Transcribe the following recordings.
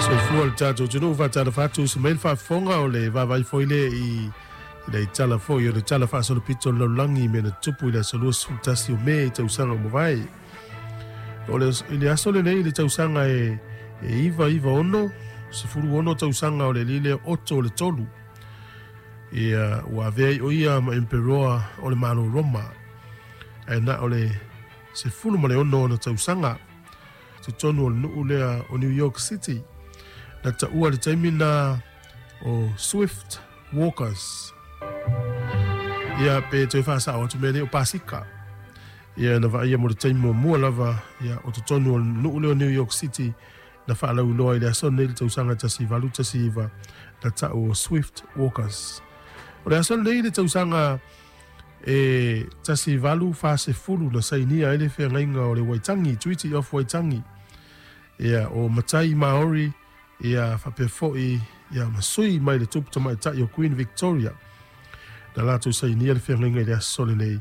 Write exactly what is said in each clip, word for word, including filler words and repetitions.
Soifua le tatou atunuu, faatalofa atu se mai le faafofoga o le vaavaai foi lea i i le tala foi o le tala faasolopito o le lalolagi i mea na tutupu i le aso luasefulu tasi o Me i tausaga ua mavae. O le, i le aso lenei i le tausaga e, e iva iva ono, sefulu ono tausaga o le alii lea Otto le Tolu. Ia, ua avea ai o ia ma emperoa o le Malo Roma. Ae na o le sefulu ma le ono ona tausaga. Totonu o le nuu lea o New York City. Na taua le taimi na o Swift Walkers. Ia, pe toe faasao atu mea nei o Pasika. Ia, na vaaia mo le taimi muamua lava, ia, o totonu o le nuu lea o New York City, na faalauiloa i le aso lenei i le tausaga tasi valu tasi iva, na tau o Swift Walkers. O le aso lenei i le tausaga e tasi valu fa sefulu na sainia ai le feagaiga o le Waitangi, Treaty of Waitangi. Ia, o matai Maori, ia, faapea foi, ia, ma sui mai le tupu tamaitai o Queen Victoria. Na latou sainia le feagaiga i le aso lenei,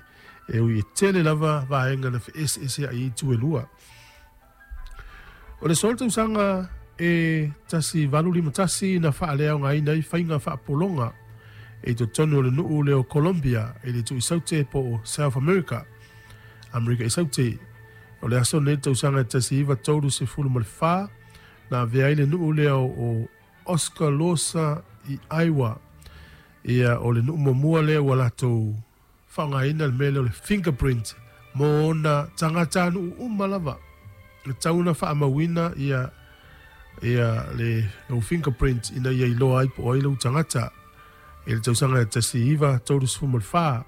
e ui e tele lava vaega na feeseeseai ai itu e lua. O le solo tausaga e tasi valu lima tasi na faaleaogaina ai faiga faapologa i totonu o le nuu lea o Colombia i le Tuisaute po o South America, Amerika i Saute. O le aso lenei tausaga e tasi iva tolu sefulu ma le fa na avea ai le nuu lea o Oscaloosa i Iowa. Ia, o le nuu muamua lea ua latou faaaogaina le mea lea o le fingerprint mo ona tagatanuu uma lava. E tatau ona faamauina ia ia le lou fingerprint ina ia iloa ai po o ai lou tagata i le tausaga e tasi iva tolu sefulu ma le fa.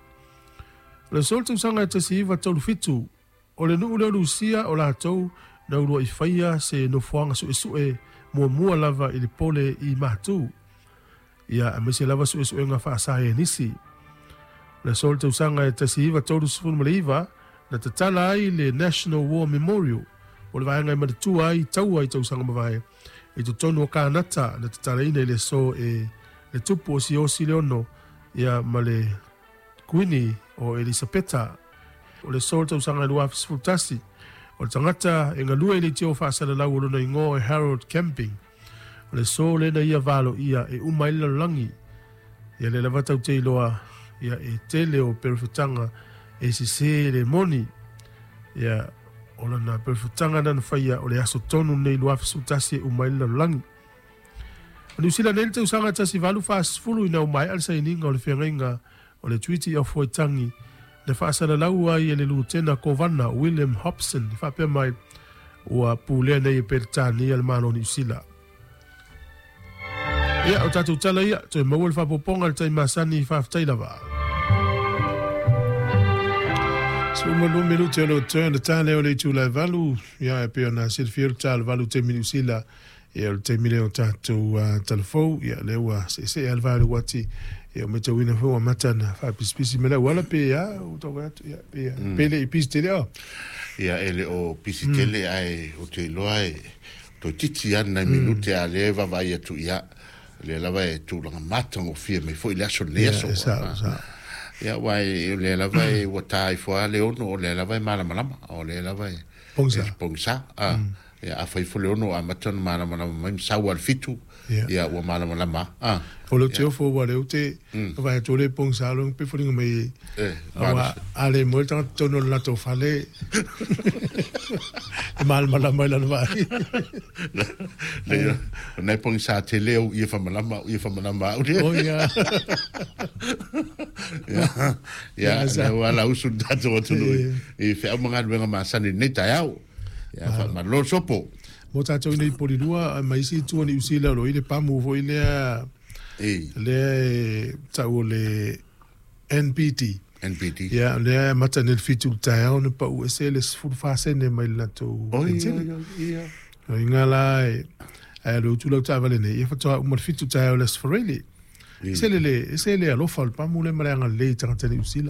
O le aso o le tausaga e tasi iva tolu fitu, o le nuu lea o Lusia o latou na uluai faia se nofoaga suesue muamua lava i le pole i matu. Ia, aemaise lava suesuega faasaienisi. O le aso o le tausaga e tasi iva tolu sefulu ma le iva, na tatala ai le National War Memorial, o le vaega e manatua ai taua i tausaga mavae i totonu o Kanata, na tatalaina i le aso e le tupu o Siosi le Ono, ia, ma le Kuini o Elisapeta. O le aso o le tausaga e lua afe sefulu tasi, o le tagata e galue i le leitio faasalalau o lona igoa e Harold Camping. O le aso lea na ia valoia e uma ai le lalolagi. Ia lea lava tatou te iloa, ia, e tele o perofetaga e sese le moni. Ia, o lana perofetaga na na faia o le aso tonu lenei lua afe sefulu tasi e uma ai le lalolagi. O Niu Sila nei le tausaga tasi valu fa sefulu ina ua maea le sainiga o le feagaiga o le Treaty of Waitangi na faasalalau ai e le Lutena Kovana William Hobson i faapea mai ua pulea nei e Peretania le Malo o Niu Sila. Ia, o tatou tala ia, toe maua le faaopoopoga i le taimi masani, faafetai lava. Sefulu ma lua minute o le turn le tā lea o le itula e valu, ia e pei ona silafia le tā o le valu i taimi Niu Sila. Ia, o le taimi lea o tatou uh, talafou, ia lea ua seesee lava le va o le uati, ia o matauina foi ua amata ona faapisipisi mai le auala pe a ua tau vaai atu, ia pe mm. pe le i pisi tele o. Ia e le o pisi tele mm. ae o te iloa e toeitiiti lava nai minute a lea e vaavaai atu ia lea lava e tulaga matagofie mai foi le aso lenei aso. Ia, e sao, sao. Ia, aua e, o lea lava e ua ta ifo lava le ono, o lea lava e malamalama, o lea lava e pogisa. E pogisa. A, mm. Ia, afai foi le ono amata ona malamalama mai ma sau lava le fitu, Ia, ia ua malamalama. A, O le te ofo ua le ute, vaai atu o le pogisa lo pe foliga mai e, aua a le moe le tagata tonu o le latou fale e malamalama i lana vaai. Le, o nai pogisa tele au ia whamalama, ia whamalama au O ia. Ia, ia, Ia, le ua la usu tatou atunuu i, i wheau mga masani nei taeao. Ia, whaamalo sopo. Mo tatou nei Polilua ma isi itu o Niu Sila o lo i le pamu foi lea E, lea e tau o le N P T. N P T. Ia, lea e amata nei le fitu i le taeao na pau ese le sefulu fa sene mai le latou Oi, pensele. oi, oi, ia. O inga la e ae le utu lau taavale nei, ia faatoa uma le fitu taeao le Aso Faraile. E. Se le le, se le alofa o le pamu le ma le agalelei i tagata Niu Sila.